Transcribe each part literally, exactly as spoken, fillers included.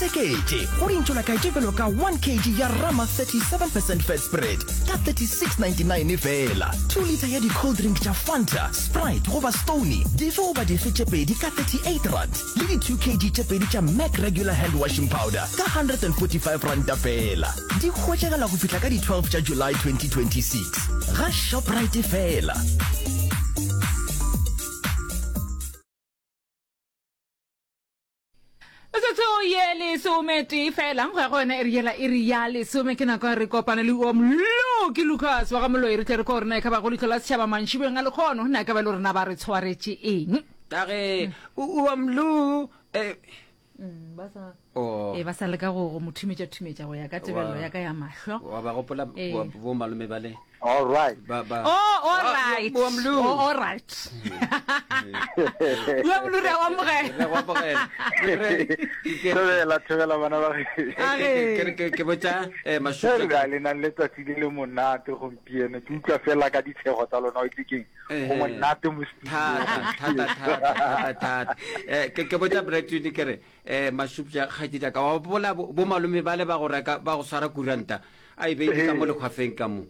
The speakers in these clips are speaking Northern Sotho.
Seketše go dintšo la kae tše bjalo ka one kg ya Rama thirty-seven percent fat spread ka thirty-six ninety-nine fela, two litre ya di-cold drink tša Fanta, Sprite goba Stoney dife goba dife tše pedi ka thirty-eight rand, le di two kg tše pedi tša Mac regular hand washing powder ka hundred and forty-five ranta fela. Di hwetšagala go fihla ka di twelve tša July twenty twenty-six ga Shoprite fela. Metsotso ye lesometee fela go ya go yona iri yela iri ya lesome ke nako ya re kopane le wa Moloki Lucas wa ga Moloi re tle re ko rena e ka ba go leihlo la setšhaba mantšibeng a lekgono na e ka ba le rena ba re tshwaretše eng. Ka ge o wa Mlo eh Mm, ba sa Oh. e ba sa leka go go mo thumetša thumetša go ya ka tebelelo Wa- ya ka ya mahlo. Wa ba gopola Eh. bo bo malome ba le. All right. Ba ba. Oh, all Ah, right. wa Mlu. Oh, all right. Wa Mlu re a o amogela. Re go amogela. Re- re- ke- Thobela, thobela bana ba gešo. A ke- re. ke- ke- ke botša, eh, Mashupja Re le nang letsatsi le le monate gompieno. Ke utlwa fela ka ditshego tsa lona, o itse keng? Eh, Go monate mo studio. Thata, thata, thata, thata, thata. Eh, ke, ke botša Bradwin ke re, eh, Mashupja, kgaetšedi ya ka, wa gopola bo, bo malome ba le ba go reka, ba go swara kuranta, a e beile ka mo lekgwafeng ka mo.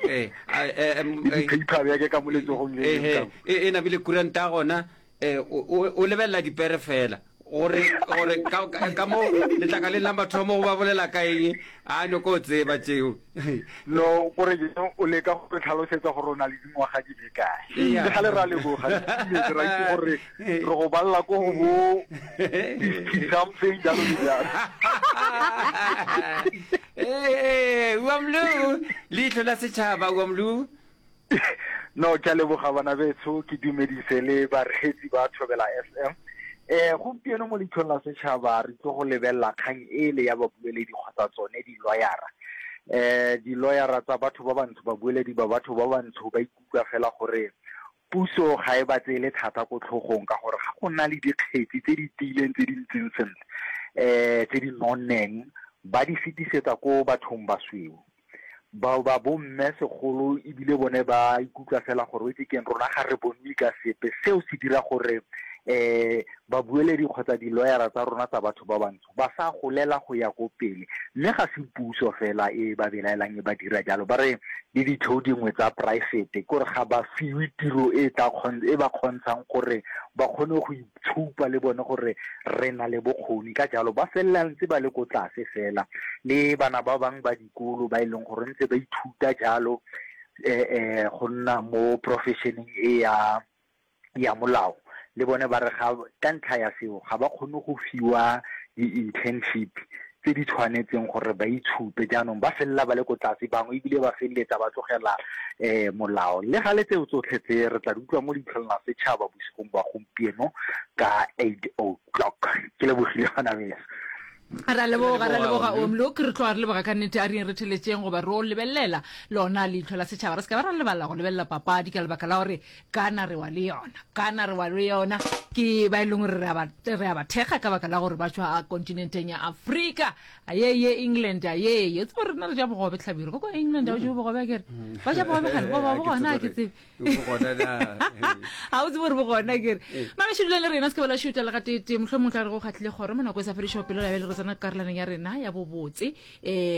Eh, a, eh, em, Le eh, di-paper bjake ka mo letsogong le eh, leng ka mo. eh, e, e nabile kuranta ya gona, eh, o, o, o lebelela dipere fela. Gore, gore ka, ka, ka mo letlakaleng la mathomo go ba bolela ka eng, a nyoko o tseba tšeo. No, gore jaanong o leka go re tlhalosetsa gore o na le dingwaga di le kae. Eya. Le gale ra leboga, re itumetse, ra itse gore re go balela ko go bo fifty something jalo le jalo. Ee, wa Mlu, leihlo la setšhaba, wa Mlu. No, ke a leboga bana betsho, ke dumedise le bareetsi ba Thobela F M. Eh, gompieno mo leitlhong la setšhaba re tlo go lebelela kgang ele ya babueledi kgotsa tsone di-lawyera. Eh, di-lawyera tsa batho ba bantsho, babueledi ba batho ba bantsho ba ikutlwa fela gore puso ga e ba tseele thata ko tlhogong ka gore ga go na le dikgetsi tse di tiileng tse di ntseng sentle, eh, tse di nonneng, ba di fetisetsa ko bathong basweu. Bao ba bomme segolo ebile bone ba ikutlwa fela gore o itse keng, rona ga re bonwe ka sepe. Seo se dira gore, eh, babueledi kgotsa di-lawyera tsa rona tsa batho ba bantsho ba sa golela go ya ko pele. Mme ga se puso fela e ba belaelang e ba dira jalo, ba re le ditheo dingwe tsa poraefete ke gore ga ba fiwe tiro e tla kgon-, e ba kgontshang gore ba kgone go itshupa le bone gore re na le bokgoni. Ka jalo ba felela ntse ba le ko tlase fela, le bana ba bangwe ba dikolo ba e leng gore ntse ba ithuta jalo, eh, eh, go nna mo professioneng e ya, ya molao, le bone ba re ga, ka ntlha ya seo ga ba kgone go fiwa di-internship tse di tshwanetseng gore ba itshupe. Jaanong ba felela ba le ko tlase, bangwe ebile ba feleletsa ba tlogela, eh, molao. Le gale tseo tsotlhe tse re tla di utlwa mo leitlhong la setšhaba bosigong ba gompieno ka eight o'clock. Ke lebogile bana beso. Ra leboga, ra leboga, Omlo. Ke re tloga re leboga ka nnete, a re yeng re theletšeng goba re o lebelela lona leihlo la setšhaba. Re se ka ba ra lebala go lebelela papadi ka lebaka la gore kana re wa le yona, kana re wa le yona. Ke ba e leng gore re a ba, re a ba thekga ka baka la gore ba tšwa kontinenteng ya Afrika. Aye ye England, aye ye. Tsebo rena re ja bogobe Hlabirwa. Ko kwa England ha o je bogobe akere? Ba ja bogobe gane, bo ba bo gona, ha ke tsebe. Bo gona na. Ha o tsebe gore bo gona akere. Mabešo dulang le rena, se ke ba la šuta le gateetee. Mohlomong tla re go kgahlile kgoro mo nako e sa fedišego pelo, la bjale re tsena karolwaneng ya rena ya bobotse. Eh,